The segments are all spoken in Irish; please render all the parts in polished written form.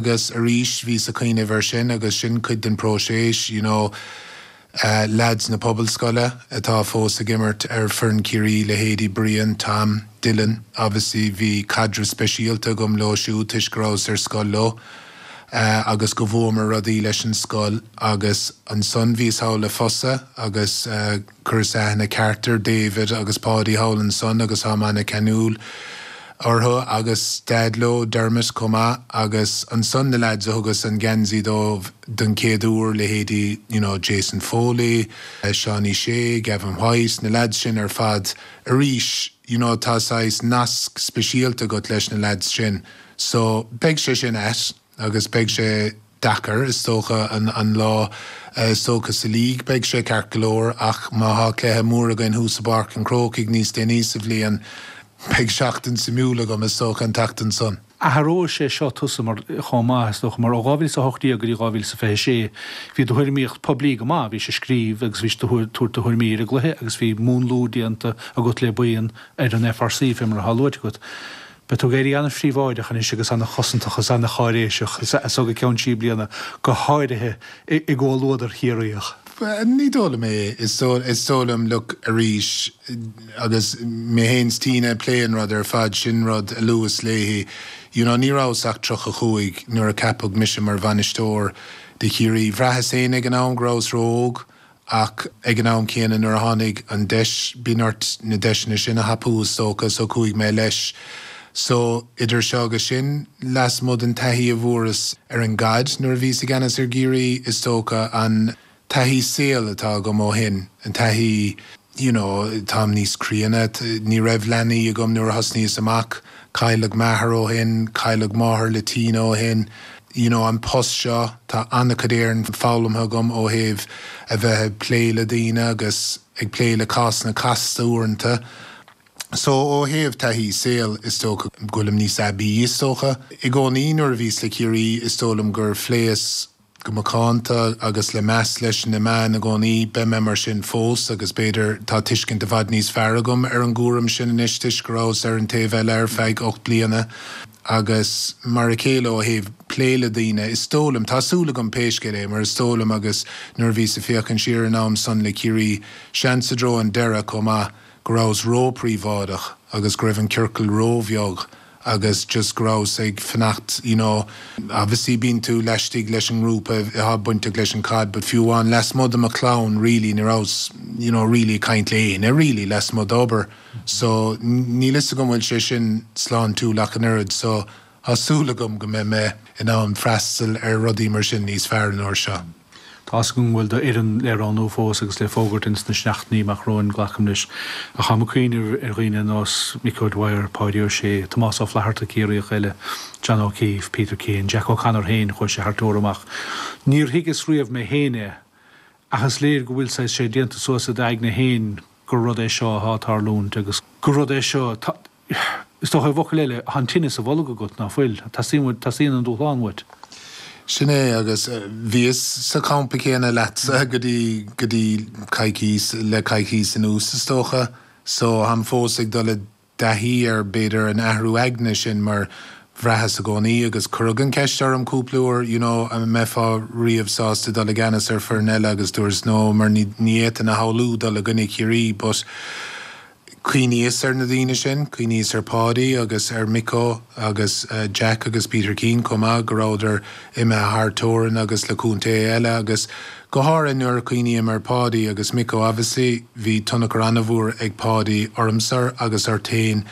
Agus arís, bhíos ag cuimhneamh air sin agus sin cuid den próiseas, you know, leaids na Pobalscoile atá fós ag imirt ar foireann Chiarraí, leithéidí Brian, Tom, Dylan, obviously bhí caidreamh speisialta agam leo siúd toisc go rabhas ar scoil leo agus go bhuamar rudaí leis an scoil agus ansan bhíos thall le Fosa agus Chuireas aithne ceart ar David agus Páidí thall ansan agus táim ana-cheanúil orthu agus Daid leo, Dermot, chomh maith agus ansan na leaids a thugas an geansaí dóibh don chéad uair, leithéidí you know Jason Foley, Seánie Shea, Gavin White, na leaids sin ar fad arís you know tá saghas nasc speisialta agat leis na leaids sin so beidh sé sin ait agus beidh sé deacair, is dócha, an lá, is dócha sa league beidh sé ceart go leor ach má thá cluiche mór againn thuas i bPáirc an Chrócaigh níos déanaí sa bhliain, beidh seachtain suimiúil agam, is dócha, an tseachtain san. Athróidh sé seo tusa mar, chomh maith, is dócha, mar ó 2018 go dtí 2026 bhí do thuairimíocht poiblí go maith, bhís ag scríobh agus bhís ag tabhairt do thuairimí ar an gcluiche agus bhí múnlú déanta agat le buíon ar an FRC, fé mar atá luaite agat. Beidh tú ag éirí an-phríobháideach anois agus an-chosantach is an-cháiréiseach as so go ceann trí bliana, go háirithe i gcomhluadar Chiarraíoch. Ní dóigh liom é. Is dóigh liom, look, arís, agus mé féin 's Tina ag plé an rud ar fad, sin rud a luas léi, you know, ní rabhas ach 35 nuair a ceapadh mise mar bhainisteoir do Chiarraí. Bhraitheas féin ag an am go rabhas ró-óg. Ach ag an am céanna nuair a tháinig an deis, bíonn ort na deiseanna sin a thapú is dócha, so chuaigh mé leis. So idir seo agus sin, lasmuigh den taithí a bhfuaireas ar an gcaid nuair a bhíos i gceannas ar gCiarraí, is dócha an taithí saoil atá agam ó shin, an taithí, you know, táim níos críonna, ní raibh leanaí agam nuair a thosnaíos amach, Cailleadh m'athair ó shin, cailleadh máthair le Tina ó shin. You know, an post seo, tá an-chuid Éireann foghlamtha agam ó thaobh a bheith ag plé le daoine agus ag plé le cásanna casta uaireanta. So, ó thaobh taithí saoil, is dócha go bhfuilim níos aibí, is dócha. I gcónaí nuair a bhíos le Ciarraí, is dóigh liom gur phléas go macánta agus le meas leis na meáin i gcónaí. Beidh mé mar sin fós agus b'fhéidir tá tuiscint i bhfad níos fearr agam ar an gcúram sin anois toisc go rabhas ar an taobh eile ar feadh 8 bliana agus mar a chéile ó thaobh plé le daoine. Is dóigh liom, tá súil agam pé scéal é, mar is dóigh liom agus nuair a bhíos ag féachaint siar ar an am san le Ciarraí, seans i dtreo an deireadh chomh maith, go rabhas ró-phríobháideach agus go raibh an ciorcal ró-bheag agus just go rabhas ag fanacht you know obviously bíonn tú laistigh leis an ngrúpa atá bainteach leis an caid but fiú amháin lasmuigh de mo chlann really ní rabhas you know really ag caint le éinne really lasmuigh d'obair so níl fhios agam bhfuil sé sin sláintiúil ach an oiread so tá súil agam go mbeidh mé in ann freastal ar rudaí mar sin níos fearr an uair seo. Tá fhios agam go bhfuil d'fhoireann le roghnú fós agus le fógairt ins na seachtainí amach romhainn, glacaim leis. Ach táim ag cuimhneamh ar dhaoine ar nós Mick O'Dwyer, Páidí Ó Sé, Tomás Ó Flatharta, Ciarraíoch eile, John O'Keeffe, Peter Keane, Jack O'Connor féin, chuaigh sé thar teorainn amach. Níor thuigeas riamh mé féin é, ach is léir go bhfuil saghas sé déanta suas i d'aigne féin gur rud é seo atá ag tarlúint agus gur rud é seo, Is dócha, i bhfocail eile, tá an tine sa bholg agat, ná fuil? Teastaíonn, teastaíonn an dúshlán uait. Sin é, agus bhíos sa champa céanna leatsa go dtí, go dtí coicís, le coicís anuas, is dócha. So, táim fós ag dul i dtaithí ar, b'fhéidir, an athrú aigne sin mar bhraitheas i gcónaí, agus cuireadh an cheist orm cúpla uair, you know, an mbeifeá riamh sásta dul i gceannas ar foireann eile agus dúras no mar ní, ní fhéadfainn a shamhlú dul i gcoinne Chiarraí but, Chuimhníos ar na daoine sin, chuimhníos ar Pháidí agus ar Micko agus Jack agus Peter Keane chomh maith, go rabhadar imithe thar teorainn agus le contaetha eile agus go háirithe nuair a chuimhním ar Pháidí agus Micko obviously bhí tionchar an-mhór ag Páidí ormsa agus ort féin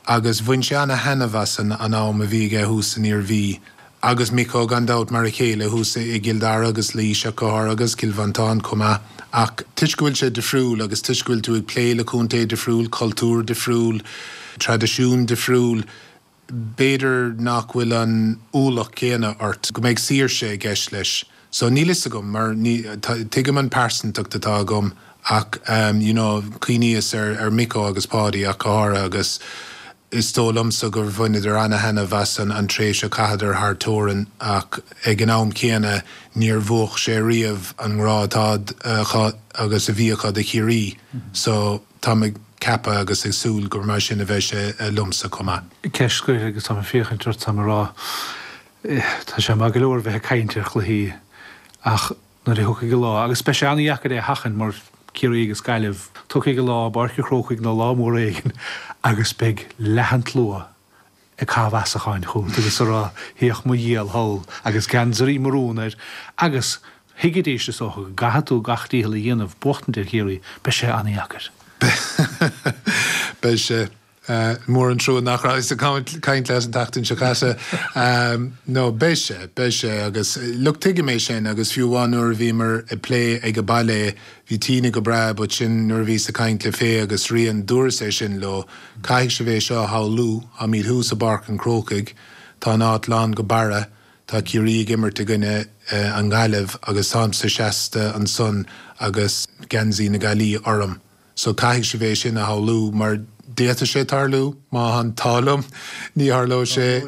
agus bhain sé ana-thaitneamh as an am a bhí aige thuas san Iarmhí. Agus Micko, gan dabht, mar a chéile thuas i gCill Dara agus Laois ach go háirithe agus Cill Mhantáin chomh maith. Ach toisc go bhfuil sé difriúil agus toisc go bhfuil tú ag plé le contae difriúil, cultúr difriúil, traidisiún difriúil, b'fhéidir nach bhfuil an ualach céanna ort, go mbeidh saoirse i gceist leis. So níl fhios agam mar ní, tuigim an pearsantacht atá agam ach you know cuimhníos ar ar Micko agus Páidí ach go háirithe agus is dóigh liomsa gur bhaineadar ana-thaitneamh as an an tréimhse a chaitheadar thar teorainn ach ag an am céanna níor mhúch sé riamh an ngrá atá acu agus a bhí acu do Chiarraí so táim ag ceapadh agus ag súil gur mar sin a bheidh sé liomsa chomh maith. Ceist scoir agus táim ag féachaint ort, táim ag rá. Tá sé maith go leor bheith ag caint ar chluichí ach nuair a thiocfaidh an lá, agus beidh sé an-dheacair é a sheachaint mar Ciarraí agus Gaillimh, tiocfaidh an lá i bPáirc an Chrócaigh nó lá mór éigin agus beidh leath an tslua ag caitheamh asacháin chugat agus ag rá 'théadh mo dhiabhal thall' agus geansaí marún air agus thuigfidís is dócha go gcaithfidh tú gach dícheall a dhéanamh buachtaint ar Chiarraí, beidh sé an-dheacair. Beidh sé. Mór an trua nach rabhas ag caint leat an tseachtain seo caite. No, beidh sé, beidh sé agus look tuigim é sin agus fiú amháin nuair a bhíomar ag plé ag an baile, bhí Tina go breá but sin nuair a bhíos ag caint le Faye agus Rian, dúras é sin leo, caithfidh sibh é seo a shamhlú, táimid thuas i bPáirc an Chrócaigh, tá an áit lán go barra, tá Ciarraí ag imirt i gcoinne an Ghaillimh agus táimse seasta ansan agus geansaí na Gaillimhe orm. So caithfidh sibh é sin a shamhlú mar d'fhéadfadh sé tarlú, má tá an t-ádh liom, ní tharlóidh sé,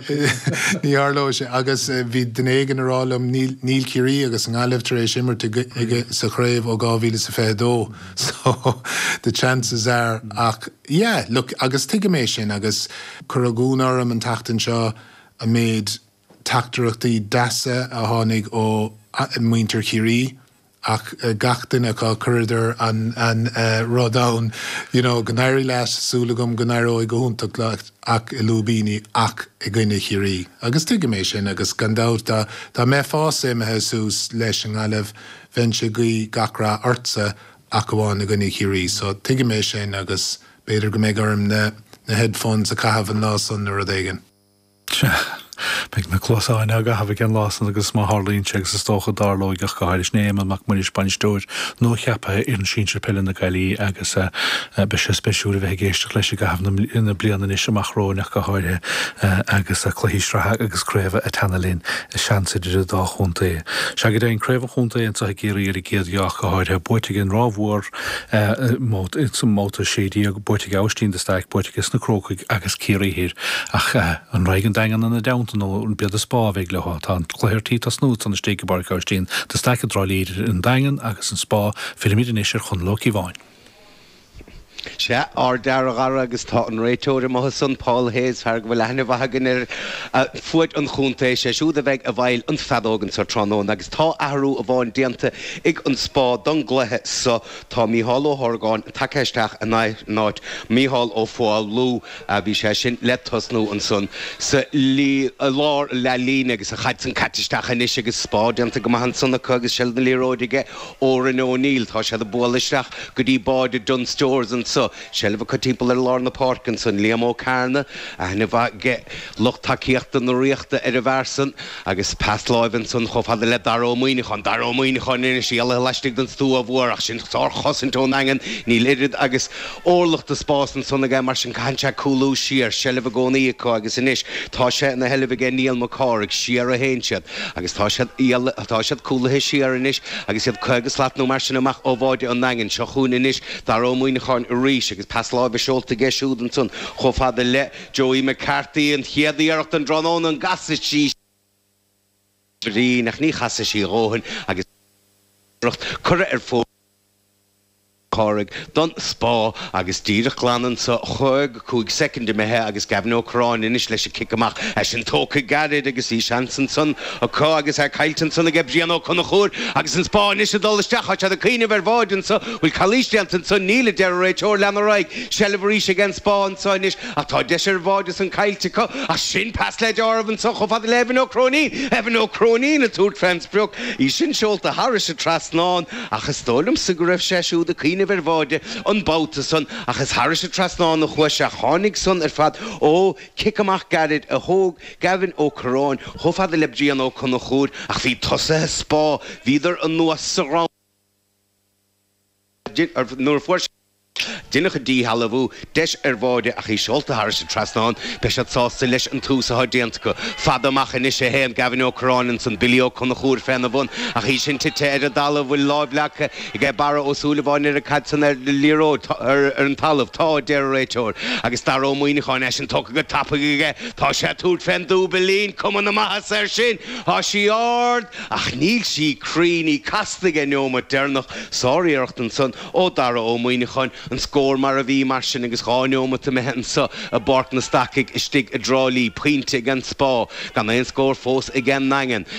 ní tharlóidh sé. Agus bhí duine éigin ag rá liom, níl, níl Ciarraí agus an Ghaillimh tar éis imirt i, sa chraobh ó 2022 so the chances are ach yeah, look, agus tuigim é sin agus cuireadh ionadh orm an tseachtain seo an méid teachtaireachtaí deasa a tháinig ó mhuintir Chiarraí. Ach gach duine acu, chuireadar an rud ann, you know, go n-éirí leat, súil agam go n-éireoidh go hiontach leat ach i lúibíní ach i gcoinne Chiarraí. Agus tuigim é sin agus gan dabht dá dá mbeifeása imithe suas leis an nGaillimh, bheinnse ag guí gach rath ortsa ach amháin i gcoinne Chiarraí. So tuigim é sin agus b'fhéidir go mbeidh orm na na headphones a chaitheamh an lá san nó rud éigin. Sea, beidh na cluasáin á gcaitheamh aige an lá san agus má tharlaíonn sé, agus is dócha go dtarlóidh ach go háirithe, sin é Éamonn Mac Muiris, bainisteoir nuacheaptha fhoireann sinsir peile na Gaillimhe agus beidh sé spéisiúil a bheith ag éisteacht leis i gcaitheamh na bliana anois amach romhainn ach go háirithe agus cluichí sraithe agus craoibhe ag teannadh linn, seans idir an dá chontae. Sea, go deimhin, Craobh an Chontae anseo i gCiarraí ar an gcéad gheá ach go háirithe, buaite ag an Ráth Mhór sa mbabhta 16, buaite ag Aibhistín de Staic, buaite aige sna Crócaigh agus Ciarraí Thoir. Ach an raghaidh an Daingean ina dteannta nó an b'iad an Spá a bheidh leo? Tá an cluiche ar tí tosnú ansan istigh i bPáirc Aibhistín de Staic i dTrá Lí idir an Daingean agus an Spá. Fillimid anois ar Chonall Ó Cíobháin. Sea, ár d'fhear a Dhara agus tá an réiteoir amuigh ansan, Paul Hayes, fear go bhfuil aithne mhaith againn air fuaid an chontae, sé siúd a bheidh i bhfeighil an feadóg anso tráthnóna agus tá athrú amháin déanta ag an Spá don gcluiche so. Tá Mícheál Ó hOrgáin tagtha isteach in áit Mícheál Ó Foghlú. Bhí sé sin le tosnú ansan sa lár leath-líne agus an chaid san caite isteach anois agus Spá déanta go maith ansan acu agus seilbh na liathróide aige Odhrán O'Neill. Tá siad ag bualadh isteach go dtí báide Dunne Stores anso. Seilbh acu timpeall ar lár na páirce ansan. Liam Ó Cearna, aithne mhaith aige lucht tacaíochta na Ríochta ar an bhfear san agus pas láimhe ansan chomh fada le Dara Ó Muíneacháin. Dara Ó Muíneacháin anois, éalaithe laistigh den stua mhór ach sin sár-chosaint ón nDaingean. Níl oiread agus Orlach de spás ansan aige, mar sin caitheann sé cúlú siar, seilbh i gcónaí acu agus anois tá sé ina sheilbh aige Niall Mac Cárthaigh, siar a théann siad agus tá siad, tá siad cúlaithe siar anois agus iad 50 slat nó mar sin amach ó bháide an Daingin. Seo chugainn anois Dara Ó Muíneacháin arís agus pas láimhe seolta aige siúd ansan chomh fada le Joey McCarthy, an chéad iarracht den dtráthnóna, an gcasfaidh sí brín ach ní chasfaidh sí a dhóthain agus iarracht curtha ar fóraoil. Cárthaigh don Spá agus díreach glan anso 55 soicind imithe agus Gavin Ó Curráin anois leis an cic amach. É sin tógtha gairid agus bhí seans ansan acu agus é caillte ansan aige Brian Ó Conchúir agus an Spá anois ag dul isteach. Tá siad ag cuimhneamh ar bháide anso. Bhfuil calaois déanta anso? Níl, a deir an réiteoir. Lean ar aghaidh. Seilbh arís ag an Spá anso anois ach tá deis ar bháide san caillte acu. Ach sin pas le deáramh anso chomh fada le Evan Ó Cróinín. Evan Ó Cróinín ag tabhairt fén sprioc. Í sin seolta thairis an trasnán. Ach is dóigh liomsa go raibh sé siúd ag cuimhneamh ar bháide an babhta san, ach is thairis an trasnán a chuaigh sé. Tháinig san ar fad ó chic amach gairid a thóg Gavin Ó Curráin chomh fada le Brian Ó Conchúir, ach bhí tosaithe Spá, bhíodar anuas sa ghround nuair a fuair sé. Deineadh an díshealbhú, deis ar bháide ach í seolta thairis an trasnán. Beidh siad sásta leis an tús atá déanta acu. Fada amach anois a théann Gavin Ó Curráin ansan, Billy Ó Conchúir féna bhun ach í sin tite ar an dtalamh. Bhfuil láimh leagtha aige Barra Ó Súilleabháin ar an gcaid san ar an liathróid ar an talamh? Tá, a deir an réiteoir. Agus Dara Ó Muíneacháin, é sin tógtha go tapaidh aige. Tá sé ag tabhairt fén dúbailín. Cuma na maitheasa air sin. Tá sí ard ach níl sí cruinn. Í casta ag an neomat deireanach. Sáriarracht ansan. Ó Dara Ó Muíneacháin. An scór mar a bhí, mar sin, agus 2 neomat imithe anso i bPáirc na Stacaigh istigh i dTrá Lí. Pointe ag an Spá, gan aon scór fós ag an nDaingean.